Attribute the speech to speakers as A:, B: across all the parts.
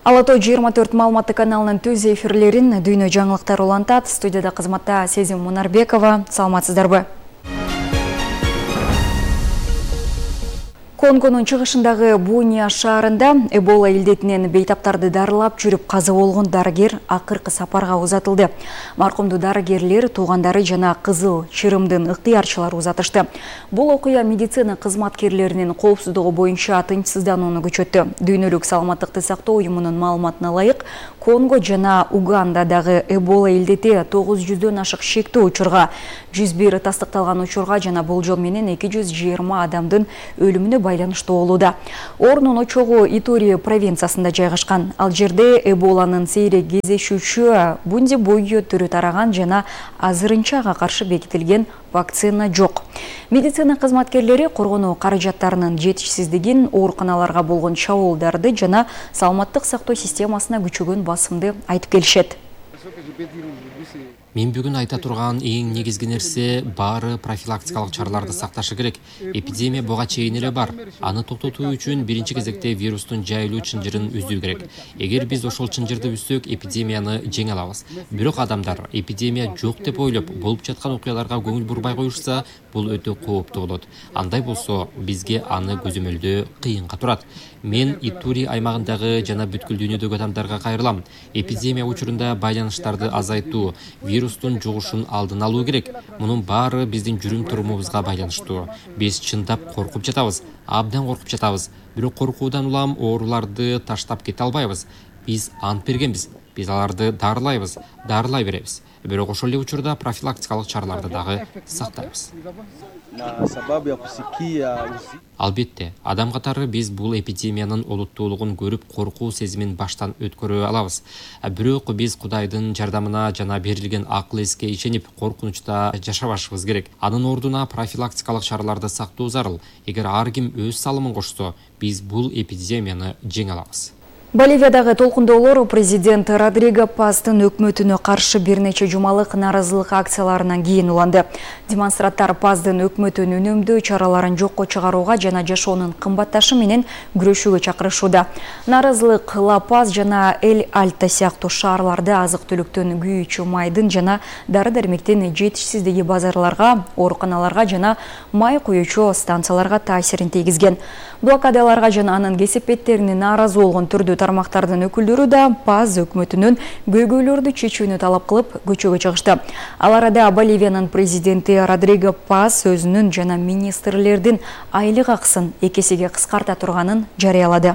A: Ала Той 24 маалыматтык каналынын түз эфирлерин дүйнө жаңылыктар улантат. Студияда кызматта Сезим Мунарбекова. Саламатсыздарбы? Конгонун чыгышындагы Буния шаарында Эбола илдетинен бейтаптарды дарылап жүрүп каза болгон дарыгер акыркы сапарга узатылды. Маркумду дарыгерлер, туугандары жана Кызыл чырымдын ыктыярчылары узатышты. Бул окуя медицина кызматкерлеринин коопсуздугу боюнча тынчсызданууну күчөттү. Дүйнөлүк саламаттыкты сактоо уюмунун маалыматына ылайык, Конго жана Угандадагы Эбола илдети 900дөн ашык шектүү учурга, 101 тастыкталган учурга жана болжол менен 220 адамдын өлүмүнө байланыштуу болууда. Орнун очогу Итури провинциясында жайгашкан. Ал жерде Эболанын сейрек кездешүүчү Бундибуйо түрү тараган жана азырынча ага каршы бекитилген вакцина жок. Медицина кызматкерлери коргонуу каражаттарынын жетишсиздигин, ооруканаларга болгон чабуулдарды жана саламаттык сактоо системасына күчөгөн басымды айтып келишет.
B: Мен бүгүн айта турган эң негизги нерсе баары профилактикалык чараларды сакташы керек. Эпидемия буга чейин эле бар. Аны токтотуу үчүн биринчи кезекте вирустун жайылуу чынжырын үзүү керек. Эгер биз ошол чынжырды үзсөк, эпидемияны жеңе алабыз. Бирок адамдар эпидемия жок деп ойлоп, болуп жаткан окуяларга көңүл бурбай коюшса, бул өтө кооптуу болот. Андай болсо, бизге аны көзөмөлдөө кыйынга турат. Мен Итури аймагындагы жана бүткүл дүйнөдөгү адамдарга кайрылам. Эпидемия учурунда байланыштарды азайтуу, вирустун жугушун алдын алуу керек. Мунун баары биздин жүрүм-турумубузга байланыштуу. Биз чындап коркуп жатабыз, абдан коркуп жатабыз. Бирок коркуудан улам ооруларды таштап кете албайбыз. Биз ант бергенбиз. Биз аларды дарылайбыз, дарылай беребиз. Бирок ошол эле учурда профилактикалык чараларды дагы сактайбыз. Албетте, адам катары биз бул эпидемиянын олуттуулугун көрүп, коркуу сезимин баштан өткөрө алабыз. Бирок биз Кудайдын жардамына жана берилген акыл эске ишенип, коркунучта жашабашыбыз керек. Анын ордуна профилактикалык чараларды сактоо зарыл. Эгер ар ким өз салымын кошсо, биз бул эпидемияны жеңе алабыз.
A: Боливиядагы толкундоолор президент Родриго Пастын өкмөтүнө каршы бир нече жумалык нааразылык акцияларынан кийин уланды. Демонстранттар Пастын өкмөтүн үнөмдөө чараларын жокко чыгарууга жана жашоонун кымбатташы менен күрөшүүгө чакырышууда. Нааразылык Ла-Паз жана Эль-Альто сыяктуу шаарларда азык-түлүктүн, күйүүчү майдын жана дары-дармектин жетишсиздиги базарларга, ооруканаларга жана май куюучу станцияларга таасирин тийгизген. Блокадаларга жана анын кесепеттерине нааразы болгон түрдүү тармактардын өкүлдөрү да Паз өкмөтүнүн көйгөйлөрдү чечүүнү талап кылып көчөгө чыгышты. Ал арада Боливиянын президенти Родриго Паз өзүнүн жана министрлердин айлык акысын 2 эсеге кыскарта турганын жарыялады.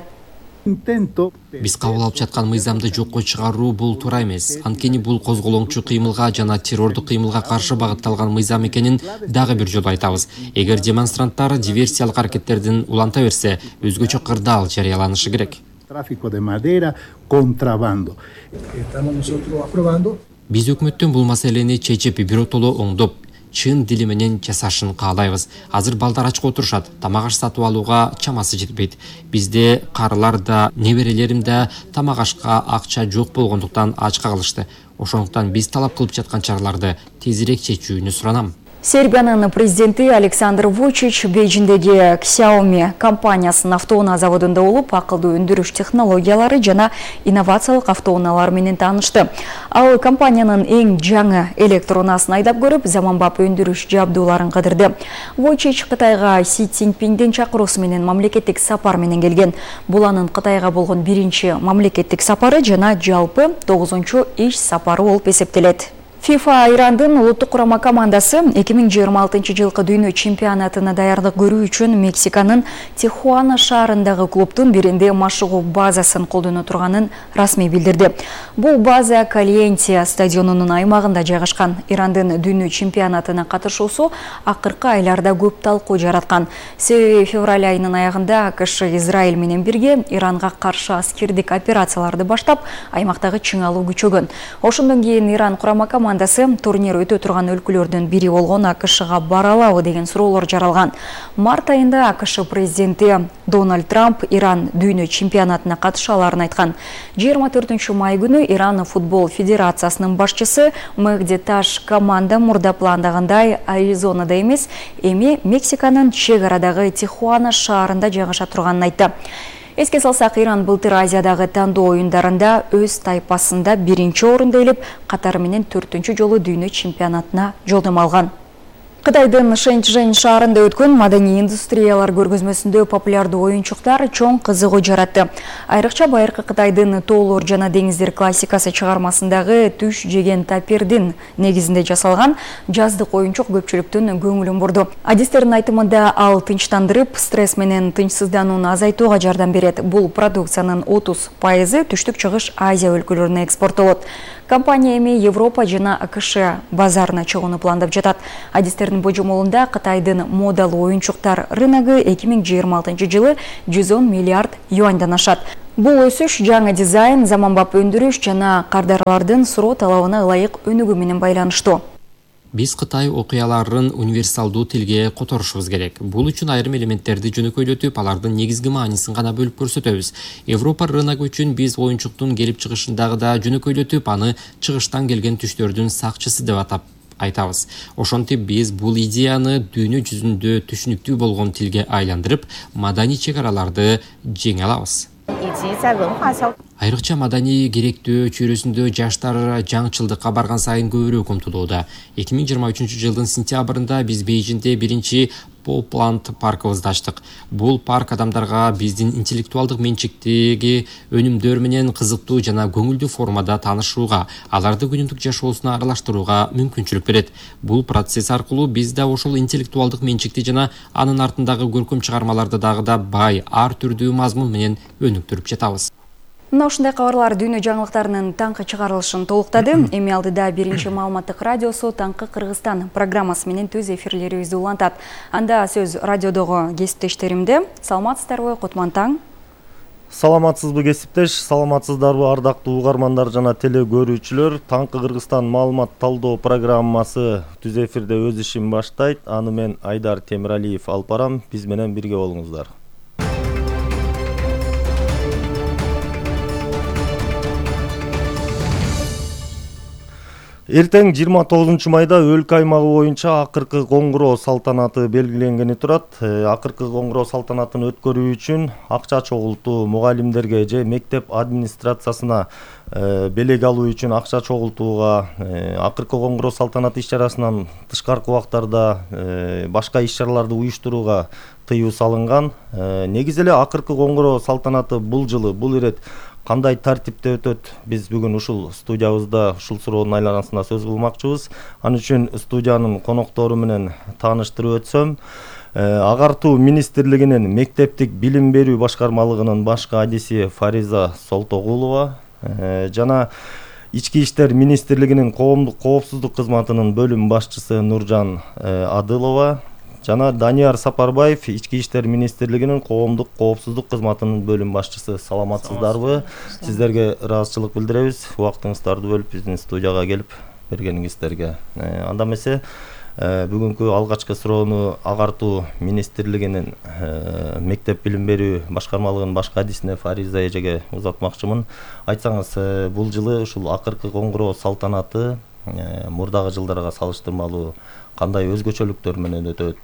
B: Биз кабыл алып жаткан мыйзамды жокко чыгаруу бул туура эмес. Анткени бул козголоңчу кыймылга жана террордук кыймылга каршы багытталган мыйзам экенин дагы бир жолу айтабыз. Эгер демонстранттар диверсиялык аракеттердин уланта берсе, өзгөчө кырдаал жарыяланышы керек. Биз өкмөттөн бул маселени чечип, биротоло оңдоп, чын дили менен жасашын каалайбыз. Азыр балдар ачка отурушат, тамак аш сатып алууга чамасы жетпейт. Бизде карылар да, неберелерим да тамак ашка акча жок болгондуктан ачка калышты. Ошондуктан биз талап кылып жаткан чараларды тезирээк чечүүнү суранам.
A: Сербиянын президенти Александр Вучич Бейжиндеги Xiaomi компаниясынын автоунаа заводунда болуп, акылдуу өндүрүш технологиялары жана инновациялык автоунаалар менен таанышты. Ал компаниянын эң жаңы электронаасын айдап көрүп, заманбап өндүрүш жабдууларын кыдырды. Вучич Кытайга Си Цзиньпиндин чакыруусу менен мамлекеттик сапар менен келген. Бул анын Кытайга болгон биринчи мамлекеттик сапары жана жалпы 9-чу иш сапары болуп эсептелет. FIFA Ирандын улуттук курама командасы 2026-жылкы дүйнө чемпионатына даярдык көрүү үчүн Мексиканын Тихуана шаарындагы клубтун биринде машыгуу базасын колдоно турганын расмий билдирди. Бул база Кальенте стадионунун аймагында жайгашкан. Ирандын дүйнө чемпионатына катышуусу акыркы айларда көп талкуу жараткан. Себеби февраль айынын аягында АКШ Израиль менен бирге Иранга каршы аскердик операцияларды баштап, аймактагы чыңалуу күчөгөн. Ошондон кийин Иран курама командасы турнир өтө турган өлкөлөрдүн бири болгон АКШга бара алабы деген суроолор жаралган. Март айында АКШ президенти Дональд Трамп Иран дүйнө чемпионатына катыша аларын айткан. 24 май күнү Иран футбол федерациясынын башчысы Мехди Таш команда мурда пландагандай Аризонада эмес, эми Мексиканын чек арадагы Тихуана шаарында жайгаша турганын айтты. Эске салсак, Иран былтыр Азиядагы тандоо оюндарында өз тайпасында 1-орунду ээлеп, катары менен 4-чү жолу дүйнө чемпионатына жолдомо алган. Кытайдын Шэньчжэнь шаарында өткөн маданий индустриялар көргөзмөсүндө популярдуу оюнчуктар чоң кызыгуу жаратты. Айрыкча байыркы Кытайдын тоолор жана деңиздер классикасы чыгармасындагы түш жеген тапирдин негизинде жасалган жаздык оюнчук көпчүлүктүн көңүлүн бурду. Адистердин айтымында ал тынчтандырып, стресс менен тынчсызданууну азайтууга жардам берет. Бул продукциянын 30% түштүк чыгыш Азия өлкөлөрүнө экспорттолот. Компания эми Европа жана АКШ базарына чыгууну пландап жатат. Адистердин божомолунда Кытайдын модалуу оюнчуктар рыногу 2026 жылы 110 миллиард юаньдан ашат. Бул өсүш жаңы дизайн, заманбап өндүрүш жана кардарлардын суроо талабына ылайык өнүгүү менен байланыштуу.
B: Биз Кытай окуяларын универсалдуу тилге которушубуз керек. Бул үчүн айрым элементтерди жөнөкөйлөтүп, алардын негизги мааниsin гана бөлүп көрсөтөбүз. Европа рыногу үчүн биз оюнчуктун келип чыгышындагы да жөнөкөйлөтүп, аны чыгыштан келген түштөрдүн сакчысы деп айтабыз. Ошентип биз бул идеяны дүйнө жүзүндө түшүнүктүү болгон тилге айландырып, маданий чек-араларды жеңе алабыз. Айрыкча маданий керектөө чөйрөсүндө жаштар жаңчылдыкка барган сайын көбүрөөк умтулууда. 2023 жылдын сентябрында биз Бейжиңде биринчи Попланд паркыбызды ачтык. Бул парк адамдарга биздин интеллектуалдык менчиктеги өнүмдөр менен кызыктуу жана көңүлдүү формада таанышууга, аларды күнүмдүк жашоосуна аралаштырууга мүмкүнчүлүк берет. Бул процесс аркылуу биз да ошол интеллектуалдык менчикти жана анын артындагы көркөм чыгармаларды дагы да бай, ар түрдүү мазмун менен өнүктүрүп жатабыз.
A: Мына ушундай кабарлар дүйнө жаңылыктарынын таңкы чыгарылышын толуктады. Эми алдыда биринчи маалыматтык радиосу Таңкы Кыргызстан программасы менен түз эфирлерибизди улантат. Анда сөз радиодогу кесиптештеримде. Саламатсыздарбы, Кутман таң?
C: Саламатсызбы кесиптеш, саламатсыздарбы ардактуу угармандар жана теле көрүүчүлөр. Таңкы Кыргызстан маалымат талдоо программасы түз эфирде өз ишин баштайт. Аны мен Айдар Темиралиев алып барам. Биз менен бирге болуңуздар. Эртең 29 майда өлкө аймагы боюнча акыркы коңгуроо салтанаты белгиленгени турат. Акыркы коңгуроо салтанатын өткөрүү үчүн акча чогултуу, мугалимдерге же мектеп администрациясына белек алуу үчүн акча чогултууга, акыркы коңгуроо салтанаты иш-чарасынан тышкаркы убактарда башка иш-чараларды уюштурууга тыюу салынган. Негизи эле акыркы коңгуроо салтанаты бул жылы, бул ирет кандай тартипте өтөт? Биз бүгүн ушул студиябызда ушул суроонун айланасында сөз кылмакчыбыз. Ал үчүн студиянын коноктору менен тааныштырып өтсөм, Агартуу министрлигинин мектептик билим берүү башкармалыгынын башкы адиси Фариза Солтогулова жана Ички иштер министрлигинин коомдук коопсуздук кызматынын бөлүм башчысы Нуржан Адылова жана Данияр Сапарбаев, Ички иштер министрлигинин коомдук коопсуздук кызматынын бөлүм башчысы. Саламатсыздарбы? Сиздерге ыраазычылык билдиребиз. Убактыңыздарды бөлүп биздин студияга келип бергениңиздерге. Анда эмесе бүгүнкү алгачкы суроону Агартуу министрлигинин мектеп билим берүү башкармалыгынын башкы адисине Фариза эжеге узатмакчымын. Айтсаңыз, бул жылы ушул акыркы коңгуроо салтанаты мурдагы жылдарга салыштырмалуу кандай өзгөчөлүктөр менен өтөт?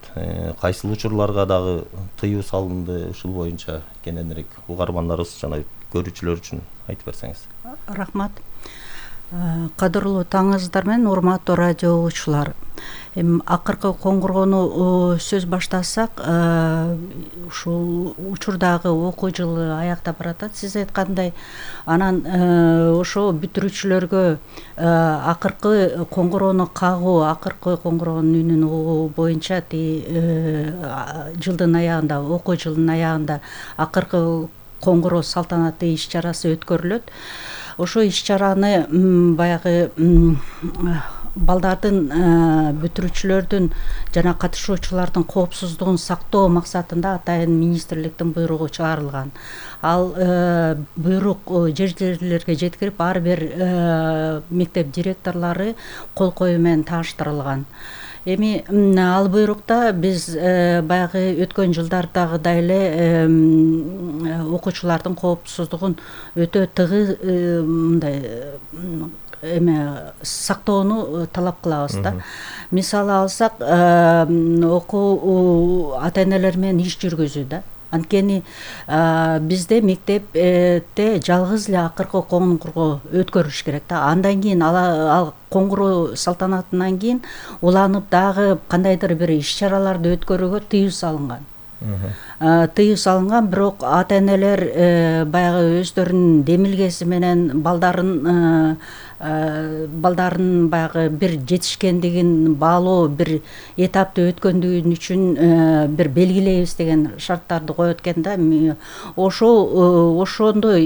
C: Кайсыл учурларга дагы тыюу салынды? Ушул боюнча кененирээк угармандарыбыз жана көрүүчүлөр үчүн айтып берсеңиз.
D: Рахмат. Кадырлуу таңыңыздар менен урматтуу радио угуучулар. Акыркы коңгуроону сөз баштасак, ушул учурдагы окуу жылы аяктап баратат. Сиз айткандай, анан ошо бүтүрүүчүлөргө акыркы коңгуроону кагуу, акыркы коңгуроонун үнүн угуу боюнча жылдын аягында, окуу жылдын аягында акыркы коңгуроо салтанаты иш-чарасы өткөрүлөт. Ошо иш-чараны баягы балдардын, бүтүрүүчүлөрдүн жана катышуучулардын коопсуздугун сактоо максатында атайын министрликтин буйругу чыгарылган. Ал буйрук жер-жерлерге жеткирип, ар бир мектеп директорлору кол коюу менен тааныштырылган. Эми ал буйрукта биз баягы өткөн жылдардагыдай эле окуучулардын коопсуздугун өтө тыгыз мындай сактоону талап кылабыз да. Мисалы алсак, окуу ата-энелер менен иш жүргүзүү да. Анткени бизде мектепте жалгыз эле акыркы коңгуроо өткөрүлүш керек да. Андан кийин ал коңгуроо салтанатынан кийин уланып дагы кандайдыр бир иш-чараларды өткөрүүгө тыюу салынган. Бирок ата-энелер баягы өздөрүнүн демилгеси менен балдарын баягы бир жетишкендигин баалоо бир этапты өткөндүгүн үчүн бир белгилейбиз деген шарттарды коет экен да. Ошондой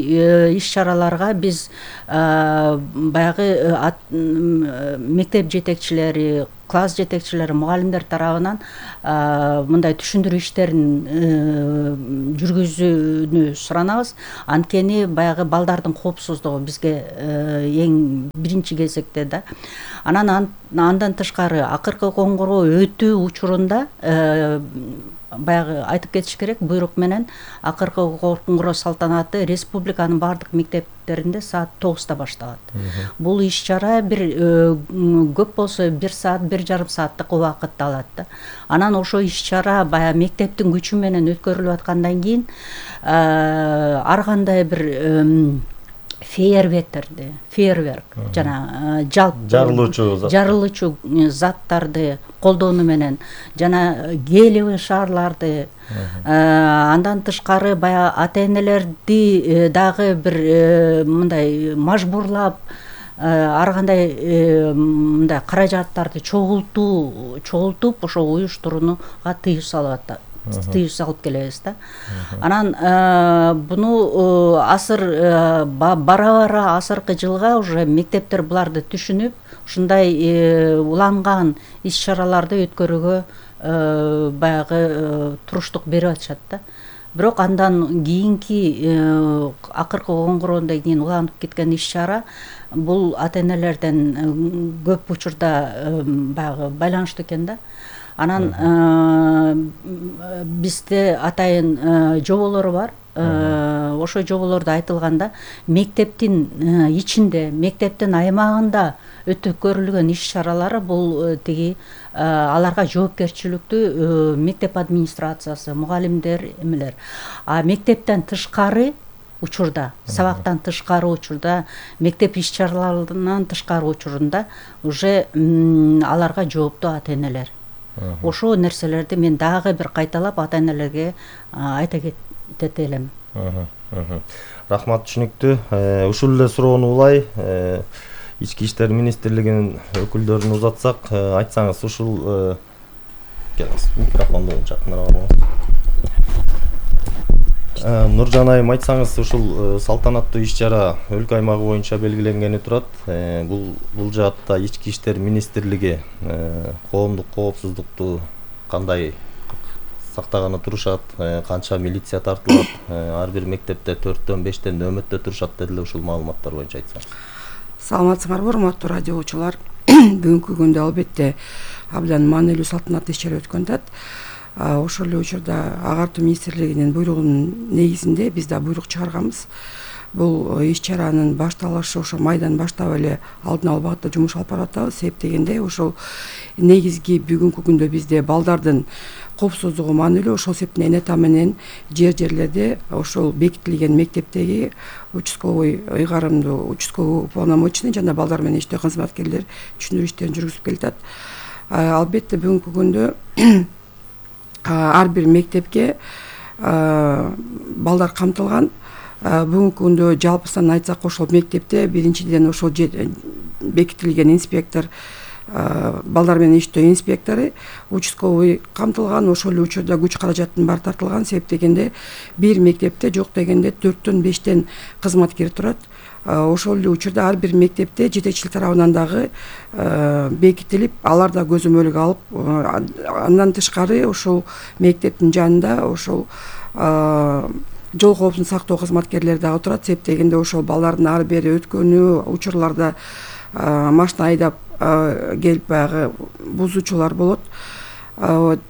D: иш-чараларга биз баягы мектеп жетекчилери, класс жетекчилери, мугалимдер тарабынан мындай түшүндүрүү иштерин жүргүзүүнү суранабыз. Анткени баягы балдардын коопсуздугу бизге эң биринчи кезекте да. Андан тышкары акыркы коңгуроо өтүү учурунда баягы айтып кетиш керек, буйрук менен акыркы коңгуроо салтанаты республиканын баардык мектептеринде саат 9-та башталат. Бул иш-чара бир көп болсо 1 саат, 1,5 сааттык убакытты алат да. Анан ошо иш-чара баягы мектептин күчү менен өткөрүлүп аткандан кийин ар кандай бир фейерверк жана жарылуучу заттарды колдонуу менен жана гелиевый шарларды андан тышкары баягы ата-энелерди дагы бир мындай мажбурлап ар кандай мындай каражаттарды чогултуп ошо уюштурууга тыюу салып келебиз да. Анан буну бара азыркы жылга уже мектептер буларды түшүнүп, ушундай уланган иш-чараларды өткөрүүгө баягы туруштук берип атышат да. Бирок андан кийинки акыркы коңгуроондон кийин уланып кеткен иш-чара бул ата-энелерден көп учурда баягы байланыштуу экен да. Анан бизде атайын жоболор бар. Ошо жоболордо айтылганда мектептин ичинде, мектептин аймагында өткөрүлгөн иш-чаралары бул тиги аларга жоопкерчиликтүү мектеп администрациясы, мугалимдер эмелер. Мектептен тышкары учурда, сабактан тышкары учурда, мектеп иш-чараларынан тышкары учурунда уже аларга жооптуу ата-энелер. Ошо нерселерди мен дагы бир кайталап ата-энелерге айта кетет элем.
C: Рахмат, түшүнүктүү. Ушул эле суроону улай Ички иштер министрлигинин өкүлдөрүнө узатсак, айтсаңыз ушул келиңиз, микрофонду жакыныраак алыңыз. Нуржан айым, айтсаңыз ушул салтанаттуу иш-чара өлкө аймагы боюнча белгиленгени турат. Бул жаатта Ички иштер министрлиги коомдук коопсуздукту кандай сактаганы турушат, канча милиция тартылат, ар бир мектепте 4-5 нөөмөттө турушат дедиле, ушул маалыматтар боюнча айтсаңыз.
E: Саламатсыңарбы, урматтуу радиочулар. Бүгүнкү күндө албетте абдан маанилүү салтанаттуу иш-чара өткөн атат. Ошол эле учурда Агартуу министрлигинин буйругунун негизинде биз да буйрук чыгарганбыз. Бул иш-чаранын башталышы ошо майдан баштап эле алдын алуу багытта жумуш алып барып атабыз. Себеп дегенде ошол негизги бүгүнкү күндө бизде балдардын коопсуздугу маанилүү. Ошол себептен эната менен жерлерде ошол бекитилген мектептеги участковый ыйгарымдуу участковый уполномоченный жана балдар менен иштөө кызматкерлер түшүндүрүү иштерин жүргүзүп келатат. Албетте бүгүнкү күндө ар бир мектепке балдар камтылган. Бүгүнкү күндө жалпысынан айтсак ошол мектепте биринчиден ошол бекитилген инспектор, балдар менен иштөө инспектору, участковый камтылган. Ошол эле учурда күч каражаттын баары тартылган. Себеп дегенде бир мектепте жок дегенде 4-5 кызматкер турат. Ошол эле учурда ар бир мектепте жетекчилик тарабынан дагы бекитилип, алар да көзөмөлгө алып, андан тышкары ошол мектептин жанында ошол жол коопсуздугун сактоо кызматкерлери дагы турат. Себеп дегенде ошол балдардын ар бери өткөнү учурларда машина айдап келип баягы бузуучулар болот.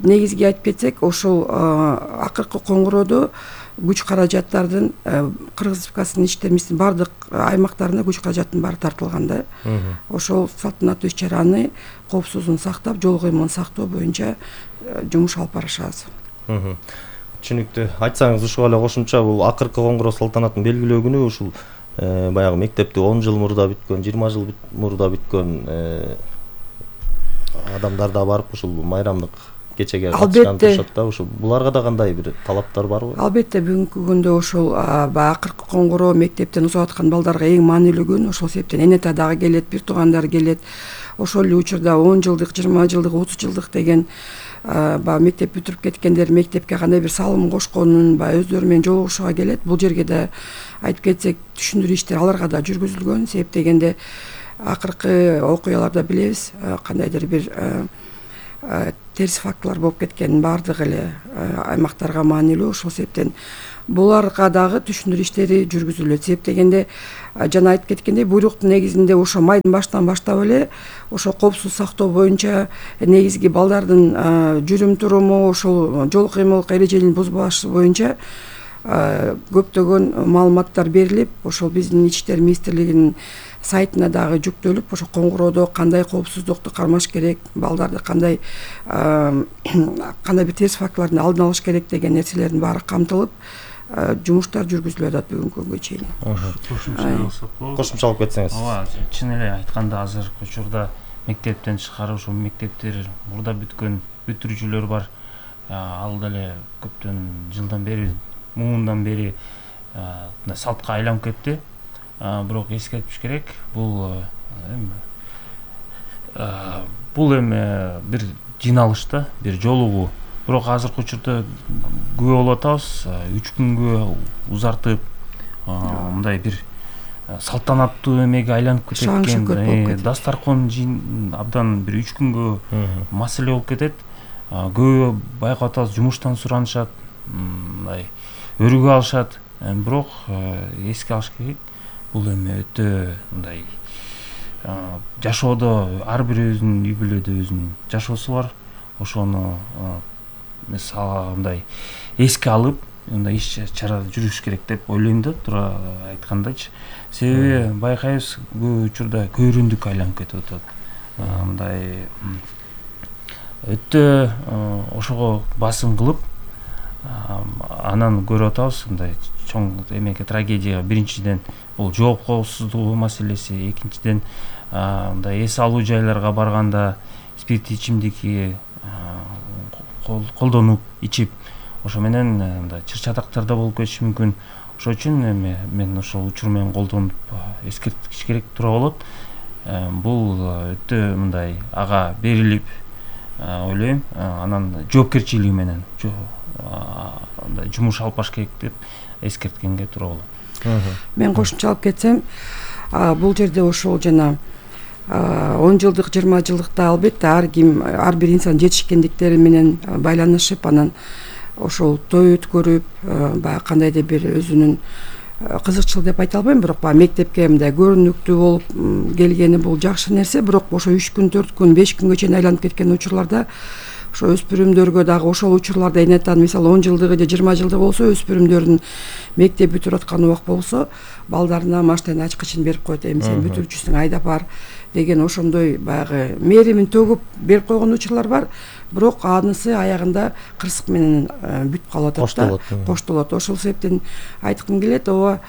E: Негизги айтып кетсек, ошол акыркы коңгуроодо күч каражаттардын Кыргыз Республикасынын ички министрлигинин баардык аймактарына күч каражаттын баары тартылган да. Ошол салтанаттуу иш-чараны коопсуздугун сактап, жол коюмун сактоо боюнча жумуш алып барышабыз.
C: Түшүнүктүү. Айтсаңыз ушуга эле кошумча бул акыркы коңгуроо салтанатын белгилөө күнү ушул баягы мектепти 10 жыл мурда бүткөн, 20 жыл мурда бүткөн адамдар да барып ушул майрамдык кечеге катышкан турушат да. Ушул буларга да кандай бир талаптар барбы?
E: Албетте бүгүнкү күндө ушул баягы акыркы коңгуроо мектептен узап аткан балдарга эң маанилүү күн. Ошол себептен эне ата дагы келет, бир туугандар келет. Ошол эле учурда 10 жылдык, 20 жылдык, 30 жылдык деген баягы мектеп бүтүрүп кеткендер мектепке кандай бир салым кошконун баягы өздөрү менен жолугушууга келет. Бул жерге да айтып кетсек, түшүндүрүү иштери аларга да жүргүзүлгөн. Себеп дегенде акыркы окуяларда билебиз, кандайдыр бир терс фактылар болуп кеткен баардык эле аймактарга маанилүү. Ошол себептен буларга дагы түшүндүрүү иштери жүргүзүлөт. Себеп дегенде жана айтып кеткендей, буйруктун негизинде ошо майдын башынан баштап эле ошо коопсуздук сактоо боюнча негизги балдардын жүрүм туруму, ошол жол кыймыл эрежелерин бузбашы боюнча көптөгөн маалыматтар берилип, ошол биздин Ички иштер министрлигинин сайтына дагы жүктөлүп, ошо коңгуроодо кандай коопсуздукту кармаш керек, балдарды кандай бир терс фактылардын алдын алыш керек деген нерселердин баары камтылып, жумуштар жүргүзүлүп атат бүгүнкү күнгө чейин.
C: Кошумчалап кетсеңиз.
F: Ооба, чын эле айтканда азыркы учурда мектептен тышкары ошо мектептер мурда бүткөн бүтүрүүчүлөр бар. Ал деле көптөн жылдан бери, муундан бери салтка айланып кетти. Бирок эскертиш керек, бул эми бир жыйналыш да, бир жолугуу. Бирок азыркы учурда күбө болуп атабыз, 3 күнгө узартып, мындай бир салтанаттуу эмеге айланып кеткен. Дастаркон абдан бир 3 күнгө маселе болуп кетет. Көбү байкап атабыз, жумуштан суранышат, мындай өргө алышат. Бирок эске алыш керек, бул эми өтө мындай жашоодо ар бирибиздин үй бүлөдө өзүнүн жашоосу бар. Ошону мындай эске алып, мындай иш чара жүргүзүш керек деп ойлойм да, туура айткандачы. Себеби байкайбыз, көп учурда көйрөндүк айланып кетип атат. Мындай өтө ошого басым кылып, анан көрүп атабыз, мындай чоң эмеге трагедияга биринчиден бул жооп коопсуздугу маселеси, экинчиден мындай эс алуу жайларга барганда спирттүү ичимдикти колдонуп ичип, ошо менен мындай чыр-чатактар да болуп кетиши мүмкүн. Ошол үчүн эми мен ошол учур менен колдонуп эскертиш керек тура болот. Бул өтө мындай ага берилип, ойлойм, анан жоопкерчилиги менен жумуш алып баш керек деп эскерткенге туура болот.
E: Мен кошумчалап кетсем, бул жерде ошол жана 10 жылдык, 20 жылдыкта албетте ар бир инсан жетишкендиктери менен байланышып, анан ошол той өткөрүп, баягы кандайдыр бир өзүнүн кызыкчыл деп айта албайм, бирок баягы мектепке мындай көрүнүктүү болуп келгени бул жакшы нерсе. Бирок ошо 3 күн, 4 күн, 5 күнгө чейин айланып кеткен учурларда ошо өспүрүмдөргө дагы ошол учурларда энетан мисалы 10 жылдыгы же 20 жылдыгы болсо, өспүрүмдөрдүн мектеп бүтүрүп аткан убак болсо, балдарына машина ачкычын берип коет, эми сен бүтүрүүчүсүң, айдап бар деген ошондой баягы мээримин төгүп берип койгон учурлар бар. Бирок анысы аягында кырсык менен бүтүп калып атат да, коштолот. Ошол себептен айткым келет, ооба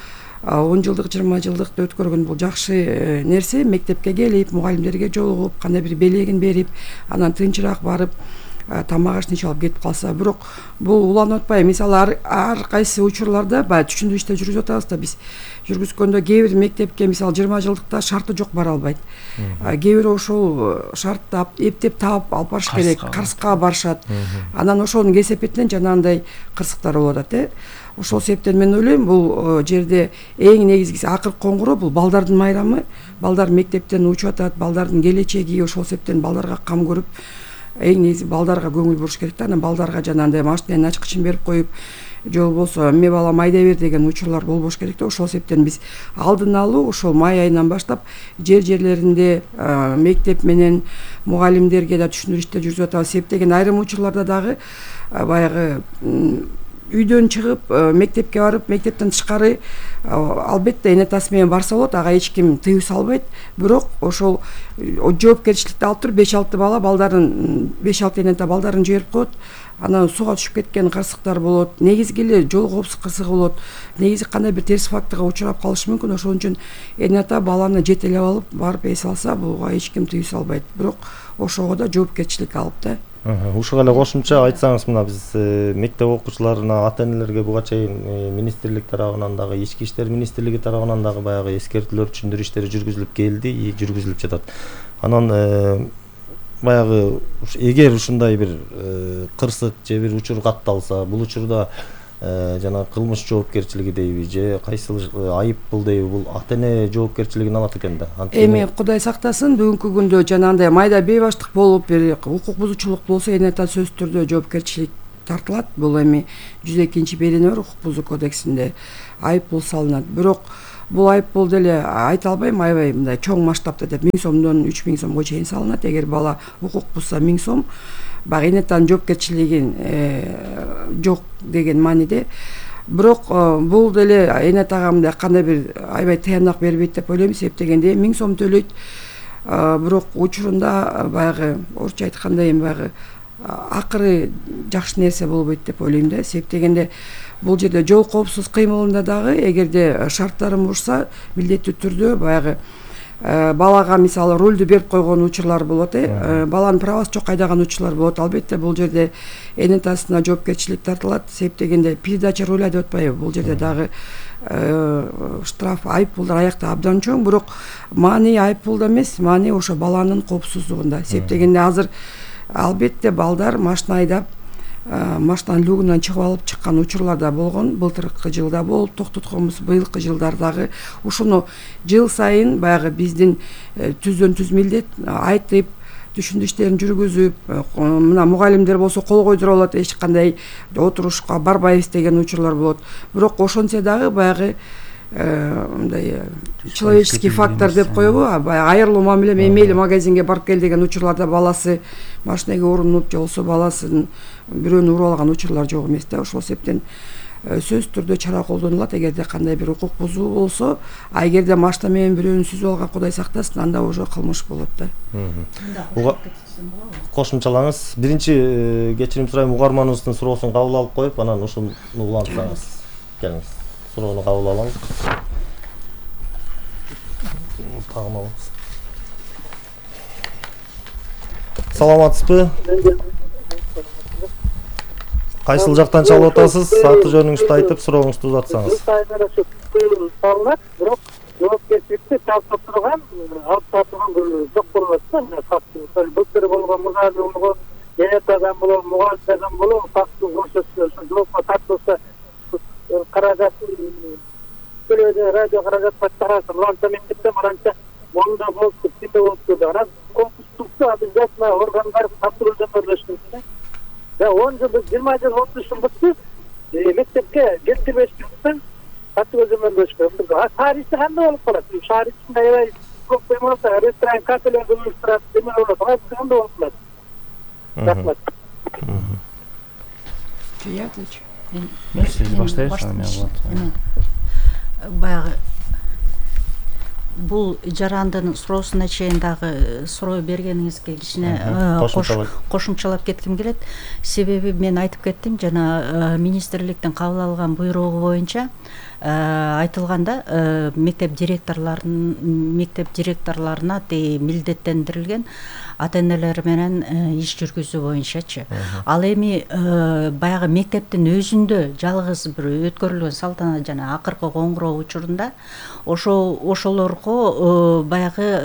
E: 10 жылдык, 20 жылдыкты өткөргөн бул жакшы нерсе. Мектепке келип, мугалимдерге жолугуп, кандай бир белегин берип, анан тынчыраак барып тамак ашын ичип алып кетип калса. Бирок бул уланып атпайбы? Мисалы ар кайсы учурларда баягы түшүндүрүү иштер жүргүзүп атабыз да биз. Жүргүзгөндө кээ бир мектепке мисалы 20 жылдыкта шарты жок бара албайт. Кээ бир ошол шартты эптеп таап алып барыш керек, Карска барышат. Анан ошонун кесепетинен жанагындай кырсыктар болуп атат. Ошол себептен мен ойлойм, бул жерде эң негизгиси акыркы коңгуроо бул балдардын майрамы. Балдар мектептен учуп атат, балдардын келечеги. Ошол себептен балдарга кам көрүп, эң негизи балдарга көңүл буруш керек да. Анан балдарга жанагындай машинанын ачкычын берип коюп, же болбосо эмне балам айдай бер деген учурлар болбош керек да. Ошол себептен биз алдын алуу ошол май айынан баштап жерлеринде мектеп менен мугалимдерге да түшүндүрүү иштер жүргүзүп атабыз. Себеп деген айрым учурларда дагы баягы үйдөн чыгып мектепке барып, мектептен тышкары албетте эне атасы менен барса болот, ага эч ким тыюу салбайт. Бирок ошол жоопкерчиликти алып туруп 5-6 бала балдарын 5-6 эне ата балдарын жиберип коет. Анан сууга түшүп кеткен кырсыктар болот. Негизги эле жол коопсуздук кырсыгы болот. Негизи кандай бир терс факторго учурап калышы мүмкүн. Ошон үчүн эне ата баланы жетелеп алып барып эс алса, буга эч ким тыюу салбайт. Бирок ошого да жоопкерчилик алып да.
C: Ушуга эле кошумча айтсаңыз, мына биз мектеп окуучуларына, ата-энелерге буга чейин министрлик тарабынан дагы, Ички иштер министрлиги тарабынан дагы баягы эскертүүлөр, түшүндүрүү иштери жүргүзүлүп келди, жүргүзүлүп жатат. Анан баягы эгер ушундай бир кырсык же бир учур катталса, бул учурда жана кылмыш жоопкерчилиги дейби же кайсыл айып бул дейби, бул ата-эне жоопкерчилигин алат экен да.
E: Эми Кудай сактасын, бүгүнкү күндө жанагындай майда бейбаштык болуп, бир укук бузуучулук болсо, эне ата сөзсүз түрдө жоопкерчилик тартылат. Бул эми 102 берене бар укук бузуу кодексинде айып бул салынат. Бирок бул айып бул деле айта албайм, аябай мындай чоң масштабта деп 1000 сомдон 3000 сомго чейин салынат. Эгер бала укук бузса 1000 сом, баягы эне атанын жоопкерчилигин жок деген мааниде. Бирок бул деле эне атага мындай кандай бир аябай таянак бербейт деп ойлойм. Себеп дегенде 1000 сом төлөйт. Бирок учурунда баягы орусча айтканда эми баягы акыры жакшы нерсе болбойт деп ойлойм да. Себеп дегенде бул жерде жол коопсуз кыймылында дагы эгерде шарттарын бушса, милдеттүү түрдө баягы балага мисалы рулду берип койгон учурлар болот, баланын правасы жок айдаган учурлар болот. Албетте бул жерде эне атасына жоопкерчилик тартылат. Себеп дегенде передача руля деп атпайбы, бул жерде дагы штраф, айып пулдар аякта абдан чоң. Бирок маани айып пулда эмес, маани ошо баланын коопсуздугунда. Себеп дегенде азыр албетте балдар машина айдап, машинанын люгунан чыгып алып чыккан учурлар да болгон. Былтыркы жылда болуп токтотконбуз, быйылкы жылдардагы ушуну жыл сайын баягы биздин түздөн түз милдет айтып, түшүндүрүү иштерин жүргүзүп, мына мугалимдер болсо кол койдуруп алат, эч кандай отурушка барбайбыз деген учурлар болот. Бирок ошентсе дагы баягы мындай человеческий фактор деп коебу, айырылуу мамиле, мейли магазинге барып кел деген учурларда баласы машинеге урунуп же болбосо баласын бирөөнү уруп алган учурлар жок эмес да. Ошол себептен сөзсүз түрдө чара колдонулат эгерде кандай бир укук бузуу болсо. А эгерде машина менен бирөөнү сүзүп алган, Кудай сактасын, анда уже кылмыш болот да.
C: Кошумчалаңыз. Биринчи кечирим сурайм, угарманыбыздын суроосун кабыл алып коюп, анан ушуну улантсаңыз. Келиңиз. Суроону кабыл алабыз. Тагын алабыз. Саламатсызбы? Кайсыл жактан чалып атасыз? Аты жөнүңүздү айтып, сурооңузду узатсаңыз.
G: Салынат, бирок жоопкерчиликти талкап турган, алып тартылган жок болот да. Фактты былтыр болгон мугалим, эне атадан болобу, мугалимдерден болобу, фактты көрсөтсө, жоопко тартылса, каражат төлөдө, радио каражат тараса, мынча мектепте мынча монда болуптур, тимде болуптур деп. Анан конкурстукту обязательно органдар тапшыруу жөндөрлөшкөн. Да 10 жыл, 20 жыл, 30 жыл бүтүп, мектепке келтирбешкенден тапшыруу жөндөрлөшкөн. Тарихи кандай болуп калат? Шаар ичинде аябай көп болмаса, ресторан, кафелер уюштурат, деме болот. Кандай болуп калат? Рахмат.
F: Сиз баштайсызбы?
D: Баягы бул жарандын суроосуна чейин дагы суроо бергениңизге кичине кошумчалап кетким келет. Себеби мен айтып кеттим, жана министрликтин кабыл алган буйругу боюнча айтылганда мектеп директорлоруна милдеттендирилген ата-энелер менен иш жүргүзүү боюнчачы. Ал эми баягы мектептин өзүндө жалгыз бир өткөрүлгөн салтанат жана акыркы коңгуроо учурунда ошолорго баягы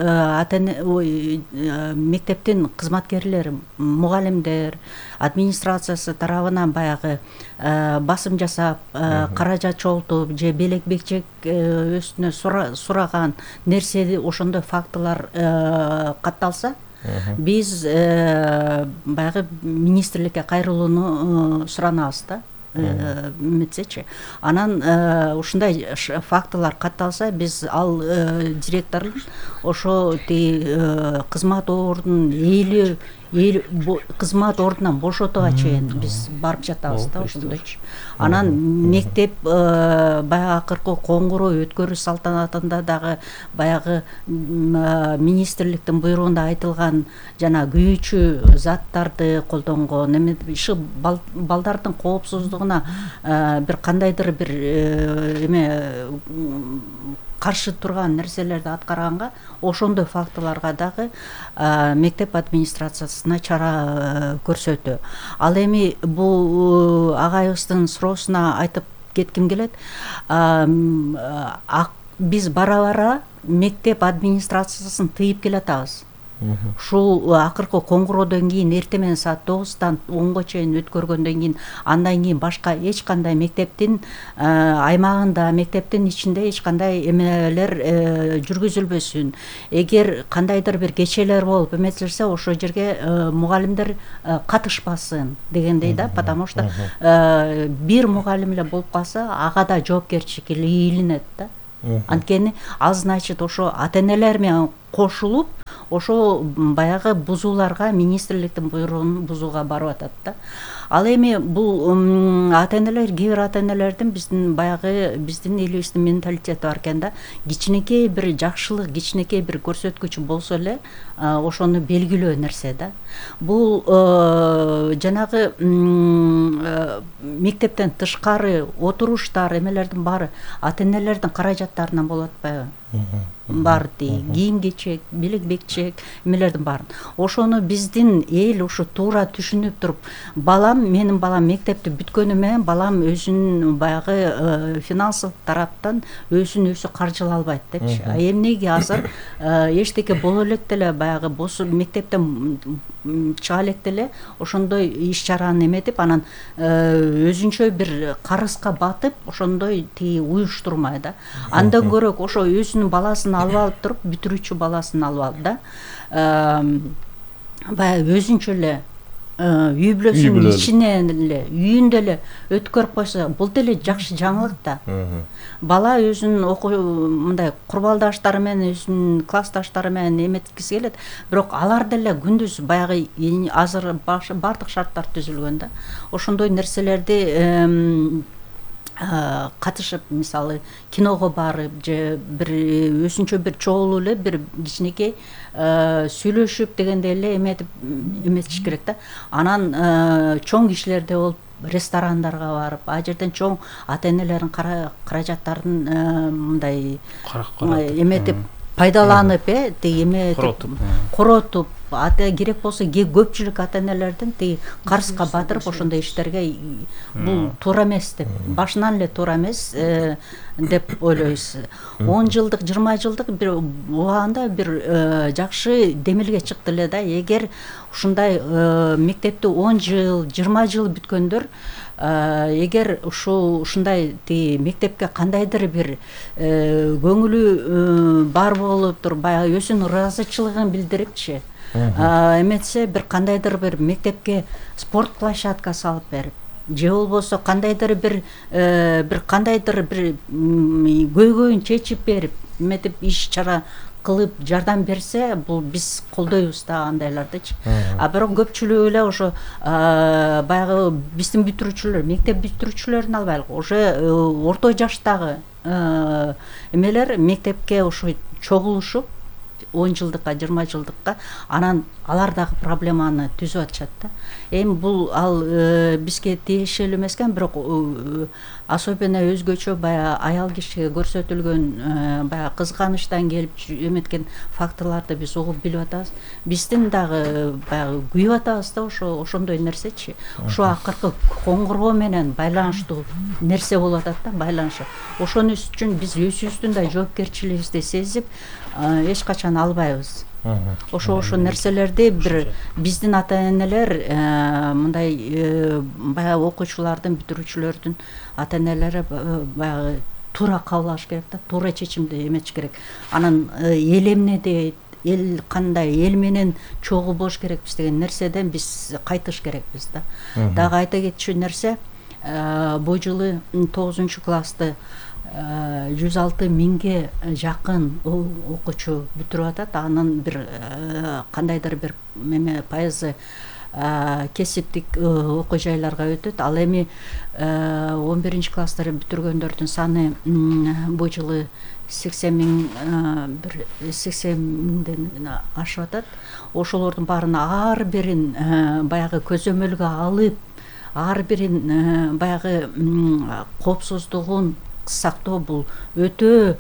D: мектептин кызматкерлери, мугалимдер, администрациясы тарабынан баягы басым жасап, каражат чогултуп же белек бекчек өстүнө сураган нерсе, ошондой фактылар катталса, биз баягы министрликке кайрылууну суранабыз да. Метсечи. Анан ушундай фактылар катталса, биз ал директордун ошо кызмат ордунун кызмат ордунан бошотууга чейин биз барып жатабыз да ошондойчу. Анан мектеп баягы акыркы коңгуроо өткөрүү салтанатында дагы баягы министрликтин буйругунда айтылган жана күйүүчү заттарды колдонгон, эме ушу балдардын коопсуздугуна бир кандайдыр бир эме каршы турган нерселерди аткарганга, ошондой фактыларга дагы мектеп администрациясына чара көрсөтүү. Ал эми бул агайыбыздын суроосуна айтып кетким келет. Биз бара мектеп администрациясын тыйып келатабыз. Ушул акыркы коңгуроодон кийин эртең менен саат 9-тан 10-го чейин өткөргөндөн кийин андан кийин башка эч кандай мектептин аймагында, мектептин ичинде эч кандай эмелер жүргүзүлбөсүн. Эгер кандайдыр бир кечелер болуп эметилсе, ошол жерге мугалимдер катышпасын дегендей да, потому что бир мугалим эле болуп калса, ага да жоопкерчилик ийилинет да. Анткени ал значит ошо ата-энелер менен кошулуп, ошо баягы бузууларга, министрликтин буйругун бузууга барып атат да. Ал эми бул ата-энелер, кээ бир ата-энелердин биздин элибиздин менталитети бар экен да. Кичинекей бир жакшылык, кичинекей бир көрсөткүч болсо эле ошону белгилөө нерсе да. Бул жанагы мектептен тышкары отуруштар, эмелердин баары ата-энелердин каражаттарынан болуп атпайбы? Бар кийим-кечек, белек-бекчек, эмелердин баарын. Ошону биздин эл ушу туура түшүнүп туруп, менин балам мектепти бүткөнү менен балам өзүнүн баягы финансылык тараптан өзүн өзү каржылай албайт депчи. Эмнеге азыр эчтеке боло элек деле баягы мектептен чыга элек деле ошондой иш-чараны эметип, анан өзүнчө бир карызга батып, ошондой уюштурмай да. Андан көрөк ошо өзүнүн баласын алып алып туруп, бүтүрүүчү баласын алып алып да, баягы өзүнчө эле үй бүлөсүнүн ичинен эле, үйүндө эле өткөрүп койсо, бул деле жакшы жаңылык да. Бала өзүнүн мындай курбалдаштары менен, өзүнүн классташтары менен эметкиси келет, бирок алар деле күндүз баягы азыр бардык шарттар түзүлгөн да. Ошондой нерселерди катышып, мисалы киного барып же бир өзүнчө бир чогулуп эле бир кичинекей сүйлөшүп дегендей эле эметиш керек да. Анан чоң кишилерде болуп ресторандарга барып, а жерден чоң ата-энелердин каражаттарын мындай эметип пайдаланып, коротуп, керек болсо көпчүлүк ата-энелердин карызга батырып ошондой иштерге бул туура эмес деп, башынан эле туура эмес деп ойлойбуз. 10 жылдык, 20 жылдык бир убагында бир жакшы демилге чыкты эле да. Эгер ушундай мектепти 10 жыл, 20 жыл бүткөндөр, эгер ушундай мектепке кандайдыр бир көңүлү бар болуп туруп, баягы өзүнүн ыраазычылыгын билдирипчи, эметсе бир кандайдыр бир мектепке спорт площадкасы алып берип, же болбосо кандайдыр бир кандайдыр бир көйгөйүн чечип берип, эметип иш-чара кылып жардам берсе, бул биз колдойбуз да андайлардычы. Бирок көпчүлүгү эле ошо баягы биздин бүтүрүүчүлөр, мектеп бүтүрүүчүлөрүн албайлык, уже орто жаштагы эмелер мектепке ошо чогулушуп 10 жылдыкка, 20 жылдыкка, анан алар дагы проблеманы түзүп атышат да. Эми бул бизге тиешелүү эмес экен, бирок особенно өзгөчө баягы аял кишиге көрсөтүлгөн баягы кызганычтан келип эметкен фактыларды биз угуп билип атабыз. Биздин дагы баягы күйүп атабыз да ошондой нерсечи. Ошо акыркы коңгуроо менен байланыштуу нерсе болуп атат да, байланышы. Ошонун үчүн биз өзүбүздүн да жоопкерчилигибизди сезип, эч качан албайбыз. Ошо нерселерди бир биздин ата-энелер мындай баягы окуучулардын, бүтүрүүчүлөрдүн ата-энелери баягы туура кабыл алыш керек да, туура чечимди эметиш керек. Анан эл эмне дейт, эл кандай, эл менен чогуу болуш керекпиз деген нерседен биз кайтыш керекпиз да. Дагы айта кетчү нерсе, бул жылы 9-классты 106 миңге жакын окуучу бүтүрүп атат. Анын бир кандайдыр бир пайызы кесиптик окуу жайларга өтөт. Ал эми 11 класстарды бүтүргөндөрдүн саны бул жылы 80 миңден ашып атат. Ошолордун баарын ар бирин баягы көзөмөлгө алып, ар бирин баягы коопсуздугун сактоо бул өтө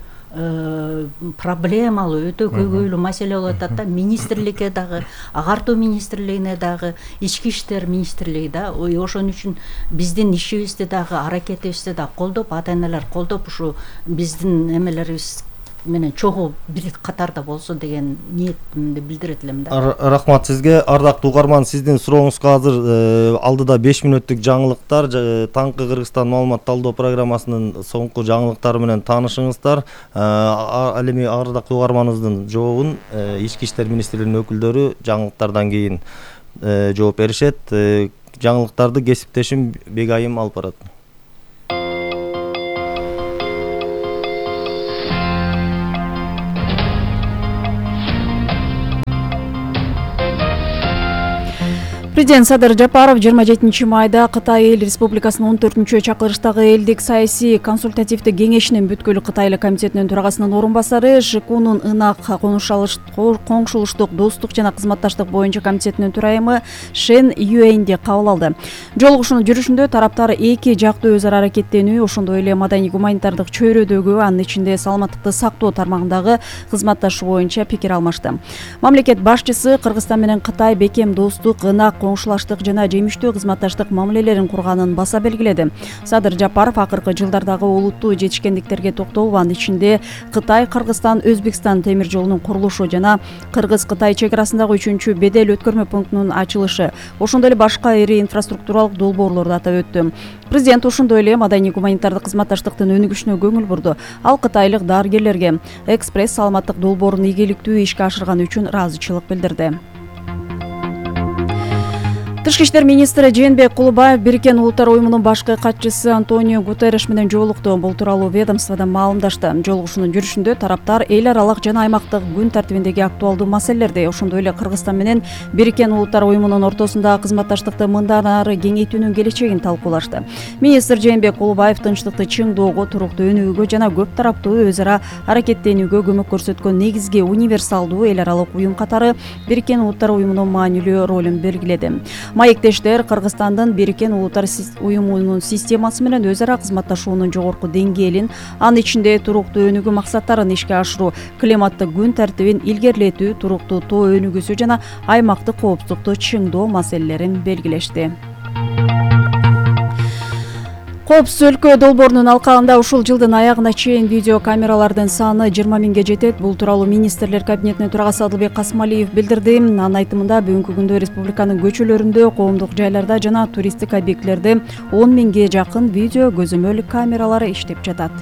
D: проблемалуу, өтө көйгөйлүү маселе болуп атат да. Министрликке дагы, агартуу министрлигине дагы, ички иштер министрлиги да ошон үчүн биздин ишибизди дагы, аракетибизди дагы колдоп, ата-энелер колдоп, ушу биздин эмелерибиз менен чогуу бир катарда болсо деген ниетимди билдирет элем да.
C: Рахмат сизге. Ардактуу угарман, сиздин сурооңузга азыр алдыда 5 мүнөттүк жаңылыктар, таңкы Кыргызстан маалымат талдоо программасынын соңку жаңылыктары менен таанышыңыздар. Ал эми ардактуу угарманыбыздын жообун ички иштер министрлигинин өкүлдөрү жаңылыктардан кийин жооп беришет. Жаңылыктарды кесиптешим Бегайым алып барат.
H: Президент Садыр Жапаров 27 майда Кытай Эл Республикасынын 14-чү чакырыштагы элдик саясий консультативдик кеңешинин бүткүл Кытайлык комитетинин төрагасынын орун басары, ШКУнун ынак коңшулуштук, достук жана кызматташтык боюнча комитетинин төрайымы Шен Юэнди кабыл алды. Жолугушуунун жүрүшүндө тараптар эки жактуу өз ара аракеттенүү, ошондой эле маданий гуманитардык чөйрөдөгү, анын ичинде саламаттыкты сактоо тармагындагы кызматташуу боюнча пикир алмашты. Мамлекет башчысы Кыргызстан менен Кытай бекем достук, ынак коңшулаштык жана жемиштүү кызматташтык мамилелерин курганын баса белгиледи. Садыр Жапаров акыркы жылдардагы олуттуу жетишкендиктерге токтолуп, анын ичинде Кытай, Кыргызстан, Өзбекстан темир жолунун курулушу жана Кыргыз-Кытай чек арасындагы 3-чү бедел өткөрмө пунктунун ачылышы, ошондой эле башка ири инфраструктуралык долбоорлорду атап өттү. Президент ошондой эле маданий гуманитардык кызматташтыктын өнүгүшүнө көңүл бурду. Ал кытайлык дарыгерлерге экспресс саламаттык долбоорун ийгиликтүү ишке ашырганы үчүн ыраазычылык билдирди. Тышкы иштер министри Жээнбек Кулубаев Бириккен Улуттар уюмунун башкы катчысы Антонио Гутерриш менен жолукту. Бул тууралуу ведомстводон маалымдашты. Жолугушуунун жүрүшүндө тараптар эл аралык жана аймактык күн тартибиндеги актуалдуу маселелерди, ошондой эле Кыргызстан менен Бириккен Улуттар уюмунун ортосундагы кызматташтыкты мындан ары кеңейтүүнүн келечегин талкуулашты. Министр Жээнбек Кулубаев тынчтыкты чыңдоого, туруктуу өнүгүүгө жана көп тараптуу өз ара аракеттенүүгө көмөк көрсөткөн негизги универсалдуу эл аралык уюм катары Бириккен Улуттар уюмунун маанилүү ролун белгиледи. Маектештер Кыргызстандын Бириккен Улуттар уюмунун системасы менен өз ара кызматташуунун жогорку деңгээлин, анын ичинде туруктуу өнүгүү максаттарын ишке ашыруу, климаттык күн тартибин илгерилетүү, туруктуу тоо өнүгүүсү жана аймактык коопсуздукту чыңдоо маселелерин белгилешти. Коопсуз өлкө долбоорунун алкагында ушул жылдын аягына чейин видео камералардын саны 20 миңге жетет. Бул тууралуу министрлер кабинетинин төрагасы Адылбек Касмалиев билдирди. Анын айтымында бүгүнкү күндө республиканын көчөлөрүндө, коомдук жайларда жана туристтик объектилерде 10 миңге жакын видео көзөмөл камералары иштеп жатат.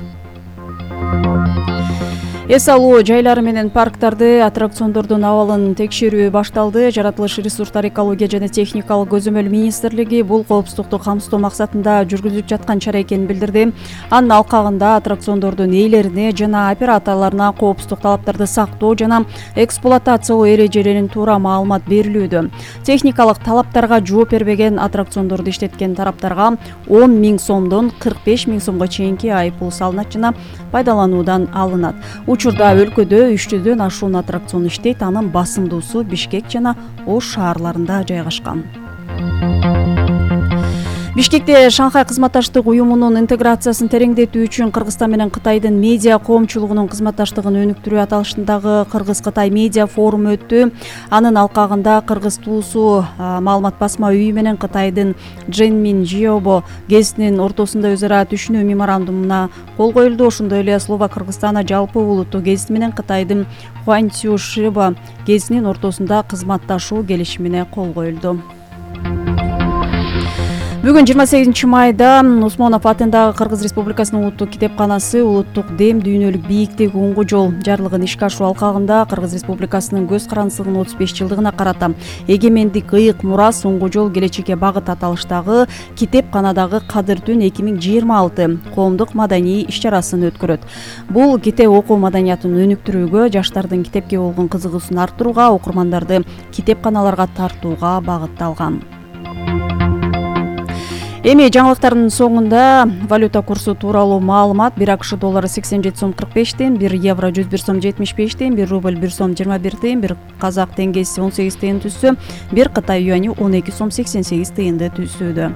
H: Эс алуу жайлары менен парктарды, аттракциондордун абалын текшерүү башталды. Жаратылыш ресурстар, экология жана техникалык көзөмөл министрлиги бул коопсуздукту камсыздоо максатында жүргүзүлүп жаткан чара экенин билдирди. Анын алкагында аттракциондордун ээлерине жана операторлоруна коопсуздук талаптарды сактоо жана эксплуатациялоо эрежелерин туура маалымат берилүүдө. Техникалык талаптарга жооп бербеген аттракциондорду иштеткен тараптарга 10 миң сомдон 45 миң сомго чейинки айыппул салынат жана пайдалануудан алынат. Учурда өлкөдө 300дөн ашуун аттракцион иштейт, анын басымдуусу Бишкек жана Ош шаарларында жайгашкан. Бишкекте Шанхай кызматташтык уюмунун интеграциясын тереңдетүү үчүн Кыргызстан менен Кытайдын медиа коомчулугунун кызматташтыгын өнүктүрүү аталышындагы Кыргыз-Кытай медиа форуму өттү. Анын алкагында Кыргыз туусу маалымат басма үйү менен Кытайдын Дженмин Жиобо гезитинин ортосунда өз ара түшүнүү меморандумуна кол коюлду. Ошондой эле Словак Кыргызстана жалпы улуттук гезити менен Кытайдын Хуанцю Шиба гезитинин ортосунда кызматташуу келишимине кол коюлду. Бүгүн 28 майда Усмонов атындагы Кыргыз Республикасынын улуттук китепканасы улуттук дем дүйнөлүк бийиктик уңгу жол жарлыгын ишке ашыруу алкагында Кыргыз Республикасынын көз карандысынын 35 жылдыгына карата эгемендик ыйык мурас уңгу жол келечекке багыт аталыштагы китепканадагы Кадыр түн 2026 коомдук маданий иш-чарасын өткөрөт. Бул китеп окуу маданиятын өнүктүрүүгө, жаштардын китепке болгон кызыгуусун арттырууга, окурмандарды китепканаларга тартууга багытталган. Эми жаңылыктардын соңунда валюта курсу тууралуу маалымат. 1 АКШ доллары 87 сом 45 тыйын, 1 евро 101 сом 75 тыйын, 1 рубль 1 сом 21 тыйын, 1 казак теңгеси 18 тыйын түссө, 1 Кытай юани 12 сом 88 тыйынды түзүүдө.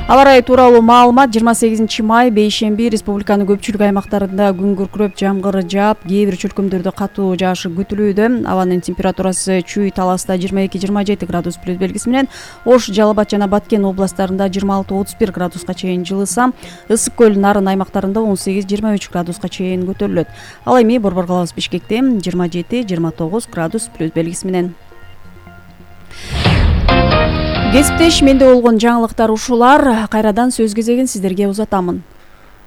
H: Аба ырайы тууралуу маалымат. 28 май бейшемби республиканын көпчүлүк аймактарында күн күркүрөп, жамгыр жаап, кээ бир чөлкөмдөрдө катуу жаашы күтүлүүдө. Абанын температурасы Чүй Таласта 22-27 градус плюс белгиси менен, Ош, Жалал Абад жана Баткен областарында 26-31 градуска чейин жылыса, Ысык көл, Нарын аймактарында 18-23 градуска чейин көтөрүлөт. Ал эми Борбор калабыз Бишкекте 27-29 градус плюс белгиси менен. Кесиптеш, менде болгон жаңылыктар ушулар. Кайрадан сөз кезегин сиздерге узатамын.